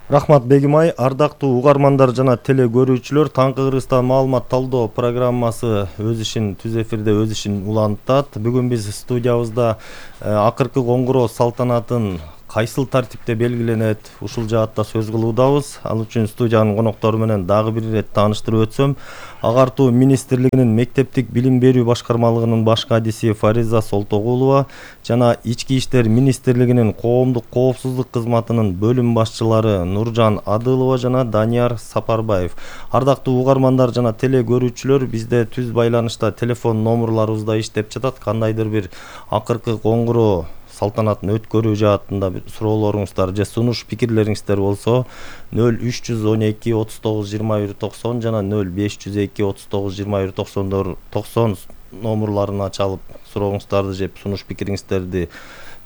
C: Рахмат Бегимай. Ардактуу угармандар жана теле көрүүчүлөр, Таңкы Кыргызстан маалымат талдоо программасы өз ишин түз эфирде өз ишин улантат. Бүгүн биз студиябызда акыркы коңгуроо салтанатын кайсыл тартипте белгиленет, ушул жаатта сөз кылуудабыз. Ал үчүн студиянын коноктору менен дагы бир ирет тааныштырып өтсөм, Агартуу министрлигинин мектептик билим берүү башкармалыгынын баш кадиси Фариза Солтогулова жана Ички иштер министрлигинин коомдук коопсуздук кызматынын бөлүм башчылары Нуржан Адылова жана Данияр Сапарбаев. Ардактуу угармандар жана теле көрүүчүлөр, бизде түз байланышта телефон номерларыбызда иштеп жатат. Кандайдыр бир акыркы коңгуроо салтанатын өткөрүү жаатында бир суроолоруңуздар же сунуш пикирлериңиздер болсо 0312 39 21 90 жана 0502 39 21 90 номерларына чалып сурооңуздарды же сунуш пикириңиздерди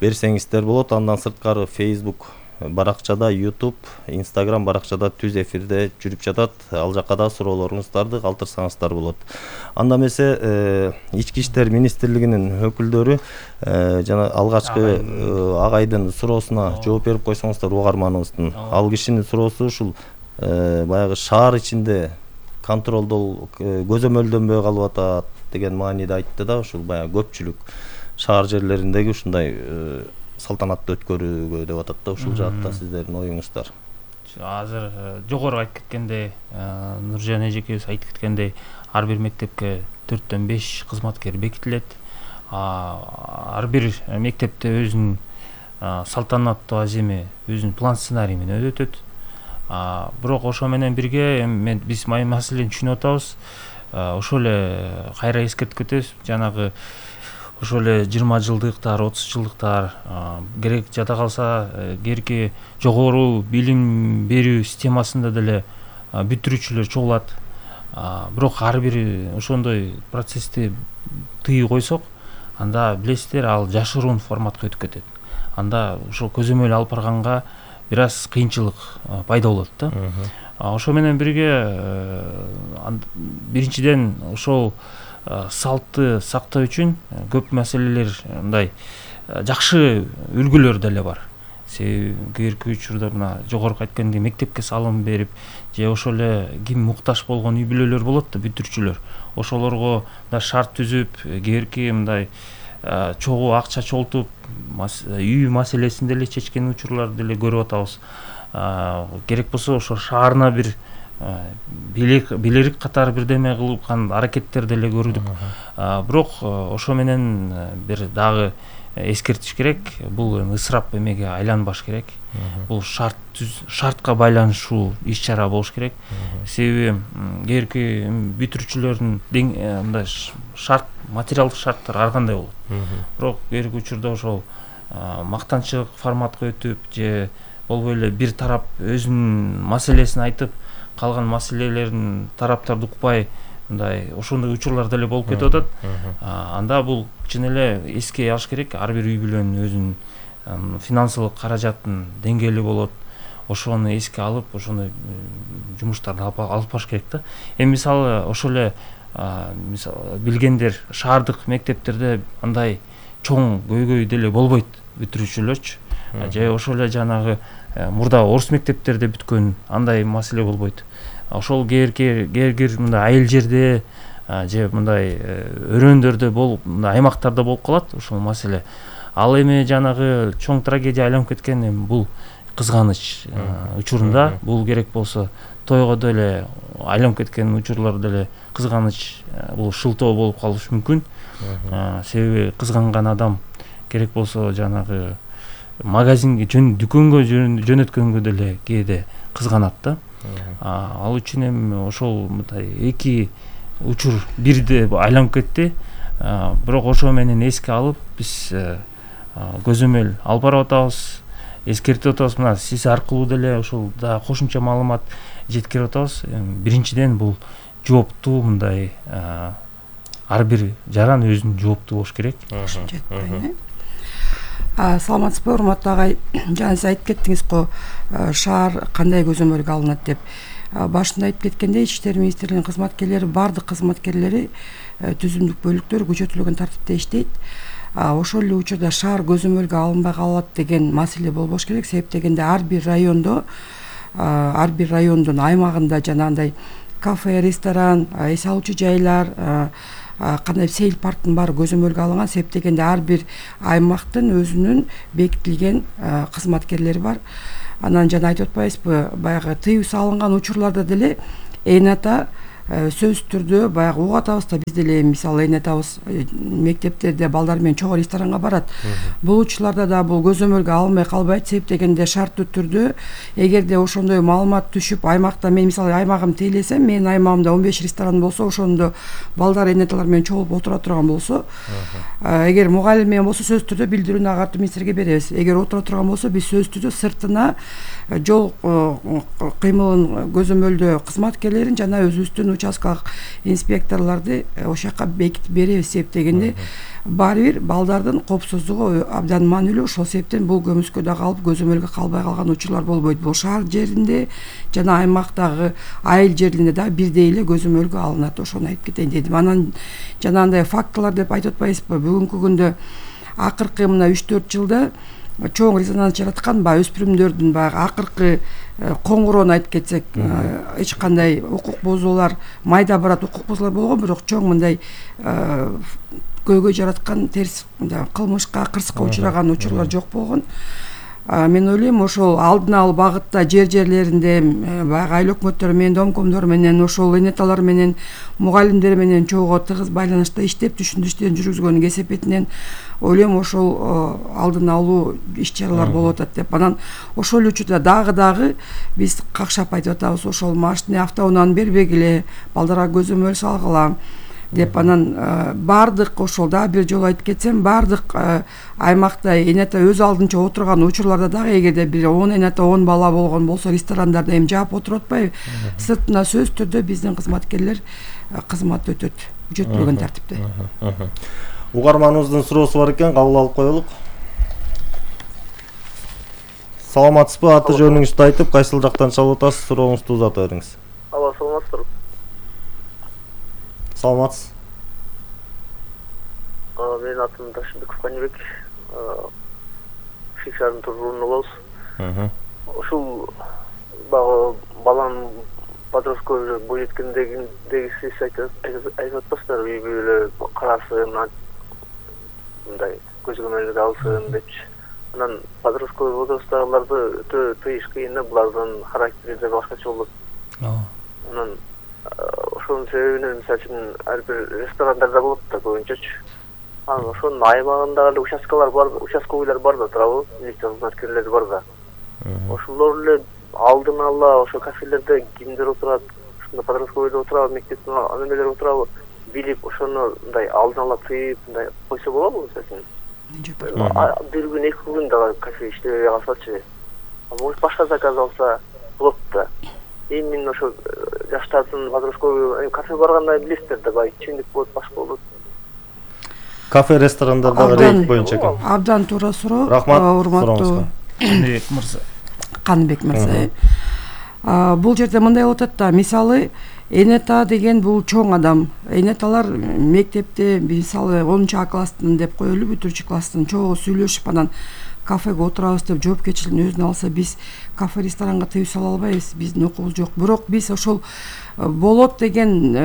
C: берсеңиздер болот. Андан сырткары Facebook баракчада, YouTube, Instagram баракчада түз эфирде жүрүп жатат. Ал жакка да суроолоруңуздарды калтырсаңыздар болот. Анда эмесе Ички иштер министрлигинин өкүлдөрү жана алгачкы агайдын суроосуна жооп берип койсоңуздар угарманыбыздын. Ал кишинин суроосу ушул баягы шаар ичинде контролдоо көзөмөлдөнбөй калып атат деген мааниде айтты да. Ушул баягы көпчүлүк шаар жерлериндеги ушундай салтанатты өткөрүүгө деп атат да. Ушул жаатта сиздердин оюңуздар?
F: Азыр жогору айтып кеткендей, Нуржан эжекебиз айтып кеткендей, ар бир мектепке 4-төн 5 кызматкер бекитилет. Ар бир мектепте өзүнүн салтанаттуу аземи, өзүнүн план сценарий менен өтөт. Бирок ошо менен бирге биз маселени түшүнүп атабыз. Ошол эле кайра эскертип кетебиз. Жанагы ошол эле 20 жылдыктар, 30 жылдыктар керек жада калса, кээинки жогору билим берүү системасында деле бүтүрүүчүлөр чогулат. Бирок ар бир ошондой процессти тыйып койсок, анда билесиздер, ал жашыруун форматка өтүп кетет. Анда ошол көзөмөл алып барганга бир аз кыйынчылык пайда болот да. Ошо менен бирге биринчиден ошол салтты сактоо үчүн көп маселелер, мындай жакшы үлгүлөр деле бар. Себеби кээинки учурда мына жогорку айткандей мектепке салым берип, же ошол эле ким муктаж болгон үй бүлөлөр болот да, бүтүрчүлөр. Ошолорго да шарт түзүп, кээинки мындай чогуу акча чогултуп, үй маселесин деле чечкен учурларды деле көрүп атабыз. Керек болсо ошо шаарына бир билерик катары бирдеме кылып аракеттер деле көрдүк. Бирок ошо менен бир дагы эскертиш керек. Бул ысырап эмеге айланбаш керек. Бул шартка байланыштуу иш-чара болуш керек. Себеби кээинки бүтүрүүчүлөрдүн мындай шарт, материалдык шарттар ар кандай болот. Бирок кээинки учурда ошол мактанчылык форматка өтүп, же болбой эле бир тарап өзүнүн маселесин айтып, калган маселелерин тараптарды укпай, мындай ошондой учурлар деле болуп кетип атат. Анда бул чын эле эске алыш керек. Ар бир үй бүлөнүн өзүнүн финансылык каражаттын деңгээли болот. Ошону эске алып, ошондой жумуштарды алып баш керек да. Эми мисалы ошол эле билгендер шаардык мектептерде андай чоң көйгөй деле болбойт бүтүрүүчүлөрчү. Же ошол эле жанагы мурда орус мектептерде бүткөн андай маселе болбойт. Ошол кээ-бир мындай айыл жерде же мындай өрөөндөрдө болуп, мындай аймактарда болуп калат ушул маселе. Ал эми жанагы чоң трагедия айланып кеткен эми бул кызганыч учурунда, бул керек болсо тойго деле айланып кеткен учурлар деле кызганыч, бул шылтоо болуп калышы мүмкүн. Себеби кызганган адам керек болсо жанагы магазинге дүкөнгө жөнөткөнгө деле кээде кызганат да. Ал үчүн эми ошол мындай эки учур бирде айланып кетти. Бирок ошо менен эске алып биз көзөмөл алып барып атабыз, эскертип атабыз. Мына сиз аркылуу деле ошол да кошумча маалымат жеткирип атабыз. Биринчиден бул жооптуу мындай ар бир жаран өзүнүн жооптуу болуш керек.
E: Саламатсызбы, урматтуу агай. Жана сиз айтып кеттиңиз го, шаар кандай көзөмөлгө алынат деп. Башында айтып кеткендей, Ички иштер министрлигинин кызматкерлери, бардык кызматкерлери түзүмдүк бөлүктөр күчөтүлгөн тартипте иштейт. Ошол эле учурда шаар көзөмөлгө алынбай калат деген маселе болбош керек. Себеп дегенде ар бир райондун аймагында жанагындай кафе, ресторан, эс алуучу жайлар, кандай сейл парктын баары көзөмөлгө алынган. Себеп дегенде ар бир аймактын өзүнүн бекитилген кызматкерлери бар. Анан жана айтып атпайбызбы, баягы тыюу салынган учурларда деле эната сөзсүз түрдө баягы угуп атабыз да, биз деле мисалы энетабыз мектептерде балдар менен чогуу ресторанга барат. Бул учурларда да бул көзөмөлгө алынбай калбайт. Себеп дегенде шарттуу түрдө эгерде ошондой маалымат түшүп, аймакта мен мисалы аймагым тейлесем, менин аймагымда 15 ресторан болсо, ошондо балдар энеталар менен чогулуп отура турган болсо, эгер мугалим менен болсо сөзсүз түрдө билдирүүнү агартуу министрге беребиз. Эгер отура турган болсо, биз сөзсүз түрдө сыртына жол кыймылын көзөмөлдөө кызматкерлерин жана өзүбүздүн участкалык инспекторлорду ошол жака бекитип беребиз. Себеп дегенде баары бир балдардын коопсуздугу абдан маанилүү. Ошол себептен бул көмүскөдө калып көзөмөлгө калбай калган учурлар болбойт. Бул шаар жеринде жана аймактагы айыл жеринде да бирдей эле көзөмөлгө алынат. Ошону айтып кетейин дедим. Анан жанагындай фактылар деп айтып атпайбызбы, бүгүнкү күндө акыркы мына 3-4 жылда чоң резонанс жараткан баягы өспүрүмдөрдүн баягы акыркы коңгуроону айтып кетсек, эч кандай укук бузуулар, майда барат укук бузуулар болгон, бирок чоң мындай көйгөй жараткан терс кылмышка, кырсыкка учураган учурлар жок болгон. Мен ойлойм, ошол алдын алуу багытта жерлеринде баягы айыл өкмөттөрү менен, домкомдор менен, ошол энеталар менен, мугалимдер менен чогуу тыгыз байланышта иштеп, түшүндүрүштөрүн жүргүзгөнүн кесепетинен ойлойм ошол алдын алуу иш чаралар болуп атат деп. Анан ошол учурда дагы биз какшап айтып атабыз, ошол машина автоунааны бербегиле, балдарга көзөмөл салгыла деп. Анан бардык ошол дагы бир жолу айтып кетсем, бардык аймакта энета өз алдынча отурган учурларда дагы эгерде бир 10 энета 10 бала болгон болсо, ресторандарда эми жаап отуруп атпайбы, сыртына сөзсүз түрдө биздин кызматкерлер кызмат өтөт күчөтүлгөн тартипте.
C: Угарманыбыздын суроосу бар экен, кабыл алып коелук. Саламатсызбы, аты жөнүңүздү айтып, кайсыл жактан чалып атасыз, сурооңузду узата бериңиз.
G: Алла, саламатсызбы.
C: Саламатсыз.
G: Менин атым Ташыбеков Каныбек. Шишардын тургуну болобуз. Ушул баланын подростковый бой жеткендеги сиз айтып атпасыздарбы, үй бүлө карасын, мындай көзөмөлгө алсын депчи. Анан подростковый возрасттагыларды өтө тыйыш кыйын да, булардын характери да башкача болот. Анан ошонун себебинен мисалы үчүн ар бир ресторандарда болот да көбүнчөчү. Анан ошонун аймагында эле участковыйлар бар да турабы, милиция кызматкерлери бар да. Ошолор эле алдын ала ошо кафелерде кимдер отурат, ушундай подростковыйда отурабы, мектептин немелери отурабы, билип ошону мындай алдын ала тыйып мындай койсо болобу мисалы үчүн? Бир күн 2 күн дагы кафе иштебей калсачы. Может башка заказ алса болот да. Эми ошо жаштардын подростковый кафе барганда билесиздер да, баягы чындык болот, башка болот.
C: Кафе, ресторандардагы рейд боюнча экен.
E: Абдан туура суроо.
C: Рахмат,
E: урматтуу
F: мырза.
E: Каныбек мырза. Бул жерде мындай болуп атат да, мисалы Энета деген бул чоң адам. Энеталар мектепте мисалы 10 класстын деп коелу, бүтүрүчү класстын чогуу сүйлөшүп анан кафеге отурабыз деп жоопкерчиликтин өзүнө алса, биз кафе ресторанга тыюу сала албайбыз, биздин укугубуз жок. Бирок биз ошол болот деген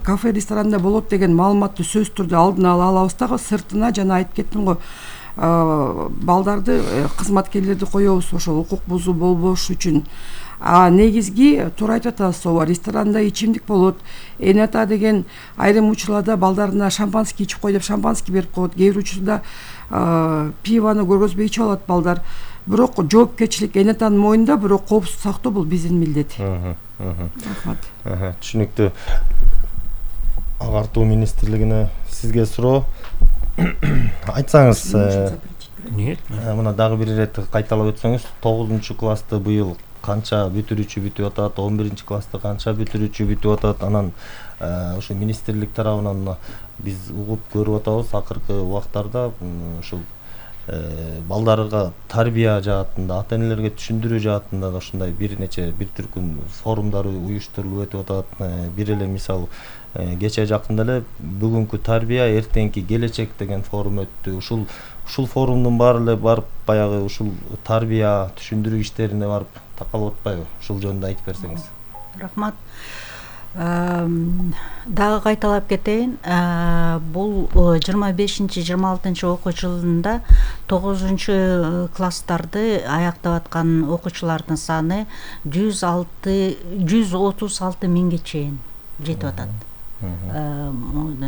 E: кафе ресторанда болот деген маалыматты сөзсүз түрдө алдын ала алабыз дагы, сыртына жана айтып кеттим го, балдарды, кызматкерлерди коебуз ошол укук бузуу болбош үчүн. Негизги туура айтып атасыз, ооба, ресторанда ичимдик болот. Энета деген айрым учурларда балдарына шампанский ичип кой деп шампанский берип коет. Кээ бир учурда пивону көргөзбөй ичип алат балдар. Бирок жоопкерчилик Энетанын мойнунда, бирок коопсуздук сактоо бул биздин милдет. Рахмат.
C: Түшүнүктүү. Агартуу министрлигине сизге суроо. Айтсаңыз, мына дагы бир ирет кайталап өтсөңүз, 9-классты быйыл канча бүтүрүүчү бүтүп атат, 11-классты канча бүтүрүүчү бүтүп атат, анан ошо министрлик тарабынан биз угуп көрүп атабыз акыркы убактарда ушул балдарга тарбия жаатында, ата-энелерге түшүндүрүү жаатында да ушундай бир түркүм форумдар уюштурулуп өтүп атат. Бир эле мисал кече жакында эле бүгүнкү тарбия, эртеңки келечек деген форум өттү. Ушул форумдун баары эле барып баягы ушул тарбия түшүндүрүү иштерине барып такалып атпайбы? Ушул жөнүндө айтып берсеңиз.
D: Рахмат. Дагы кайталап кетейин. Бул 25-26 окуу жылында 9-класстарды аяктап аткан окуучулардын саны 136 миңге чейин жетип атат.